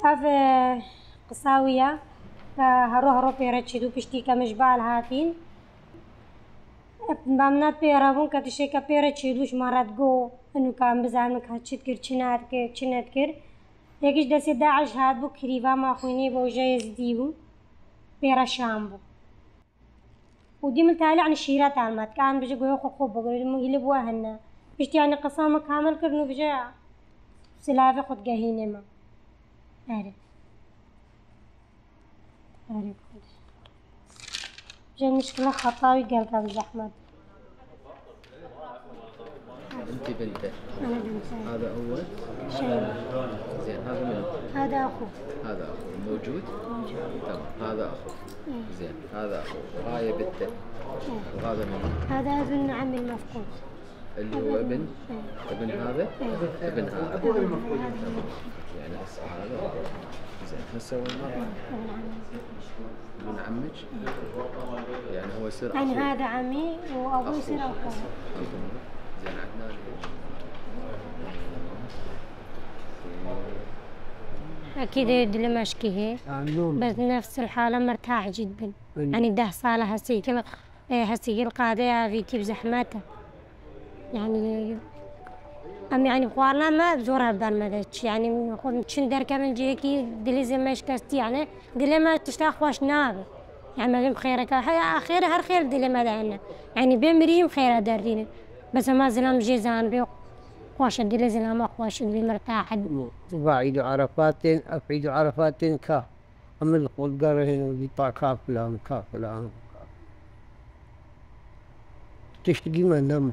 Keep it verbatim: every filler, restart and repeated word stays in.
هاف قصاوية هرو هرو بيرتشي دو بشتيكا مشبال هاتين بامنات بيرابون كتشيكا بيرتشي دوش مرات جو انو كان بزانك هاتشت كر چنات كر چنات كر يكيش دسي داعش هات بو كريبا ما خويني بو جايز ديبو بيرا شامبو ودي ملتالي عن الشيرات عالمات كان بيجي قوي خو خو بقول مو يلبوها هنا بيشتي يعني قصامة كامل كرنو بيجي سلافة خد قهينة ما أعرف أعرف جا المشكلة خطاوي قلقة بزحمة. انتي بنته. أنا بنته. هذا أول شيء. زين هذا منو؟ هذا أخو. هذا أخو موجود؟ موجود. تمام هذا أخو. إيه. زين هذا أخو وهاي بنته. إيه. وهذا منو؟ هذا ابن عمي المفقود. اللي هو ابن؟ إيه. ابن هذا؟ إيه. ابن هذا. يعني هسه هذا زين هسه وين مرة؟ ابن عمك؟ يعني هو يصير يعني هذا عمي وأبوي يصير أخوه. زين عدنان أكيد يدي لما أشكيه بس نفس الحالة مرتاح جدا يعني ده صالة هسي كما هسي القاضية في كيف زحمته يعني أم يعني خوارنا ما بزورها بالمدش يعني خود شندر كمان جيكي دليزي ما يشكستي يعني دلي ما تشتاق واش ناب يعني ما بيم خيرك هيا خير هر خير دلي ما دعنا يعني بيمريم خير دارين بس ما زلنا جيزان بيو واش دلي زلنا ما واش دلي مرتاح بعيد عرفات أفعيد عرفات كا أما القول قاره هنا بيطاع كافلان كافلان تشتقي ما نم